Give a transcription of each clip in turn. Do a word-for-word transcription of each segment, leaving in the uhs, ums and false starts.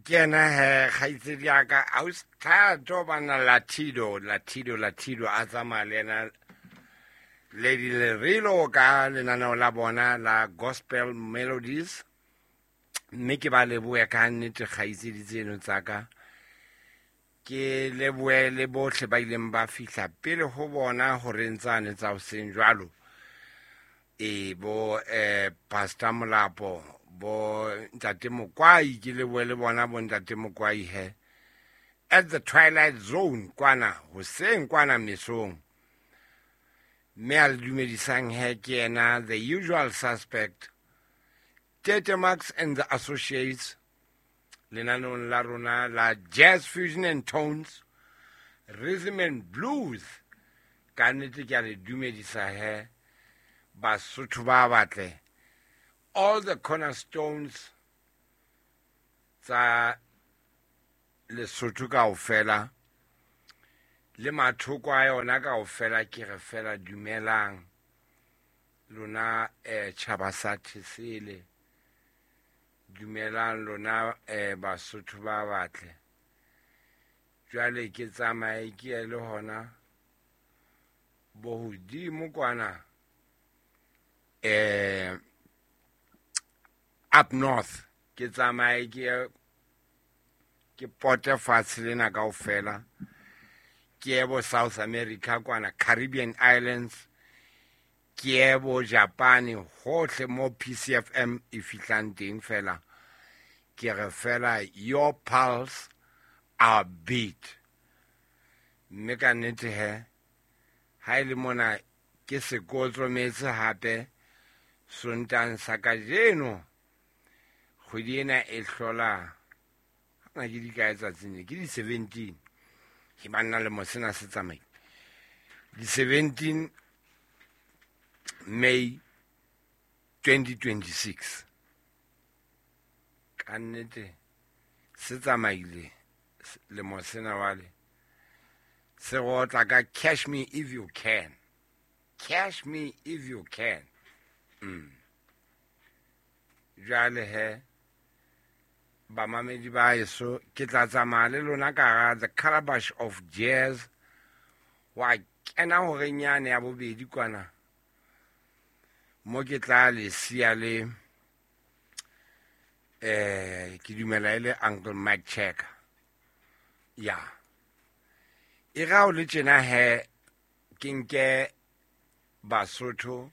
Ke yena he kgaitsedi ya ka ausi Thato bana Latido Latido Latido a tsamaya le yena Lady Lerilo ka lenaneo la bona la Gospel Melodies. Mme ke ba lebohe ka nnete kgaitsedi tseno tsa ka. Ke lebohe le bohle ba ileng ba fihla pele ho bona horeng tsane tsa hoseng jwalo. E bo eh Pastor Molapo, bo Ntate Mokwai, ke lebohe le bona bo Ntate Mokwai he. At the Twilight Zone kwana hoseng kwana mesong. Mme a le dumedisang he ke yena the usual suspect, Tete Max and the Associates, lenaneong la rona la Jazz Fusion and Tones, Rhythm and Blues. Ka nnete ke a le dumedisa he Basotho ba batle, all the cornerstones tsa Lesotho kaofela le mathoko a yona kaofela, ke re fela dumelang lona eh tjhaba sa Thesele, dumelang lona eh Basotho ba batle. Jwale ke tsamaye ke ye le hona bo hodimo kwana eh up north, ke tsamaye ke ye ke pote fatshe lena kaofela, ke ye bo South America kwana, Caribbean Islands, ke ye bo Japan, hohle mo P C F M e fihlang teng fela. Ke re fela your pulse, our beat. Mme ka nnete he, ha e le mona ke sekotlometse hape Sontang sa kajeno, kgwedi ena e hlola hana ke di kae tsatsing le, ke di seventeen. Ke banna le mo sena se tsamaile. Di seventeen May twenty twenty-six. Ka nnete se tsamaile lemo sena wale. Se rotla ka cash me if you can. Cash me if you can. Mm. Jwale he bamamedi ba heso, ke tla tsamaya le lona ka hara the calabash of jazz. Wa kena horeng yane ya bobedi kwana mo ke tla le siya le eh ke dumela e le Uncle Mike Checker. Ya e ra o le tjena he, ke nke Basotho,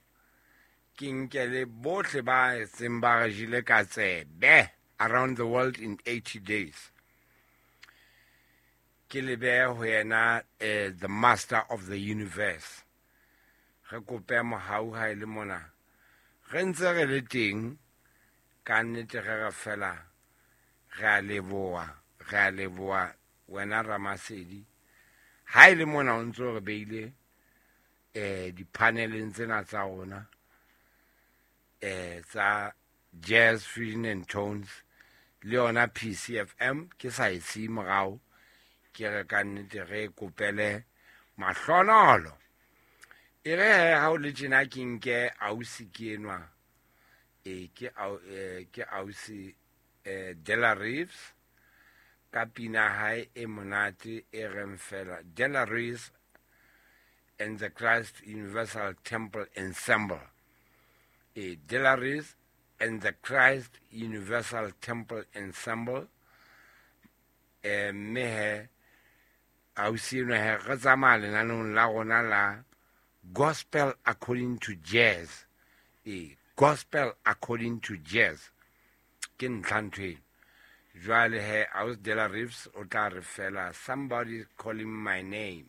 ke nke le bohle ba seng ba re jele ka tsebe around the world in eighty days. Ke le behe ho yena, eh, the master of the universe. Re kope mohau ha e le mona. Re ntse re le teng, ka nnete re re fela, re a leboha, re a leboha wena Ramasedi. Ha e le mona o ntso re beile, eh, di-paneleng tsena tsa rona, eh, tsa Jazz Fusion and Tones le yona P C F M, ke sa e siye morao, ke re ka nnete re kopele mahlonolo. E re he, ha o le tjena ke nke ausi ke enwa, e, ke au, e, ke ausi, eh, Della Reeves, ka pina hae e monate e reng fela, Della Reeves and the Christ Universal Temple Ensemble. E, Della Reeves and the Christ Universal Temple Ensemble. Eh, mme he, ausi enwa he, re tsamaya lenaneong la rona la Gospel According to Jazz. E, Gospel According to Jazz. Ke ntlha ntho eno. Jwale he, ausi Della Reeves o tla re fela, somebody calling my name.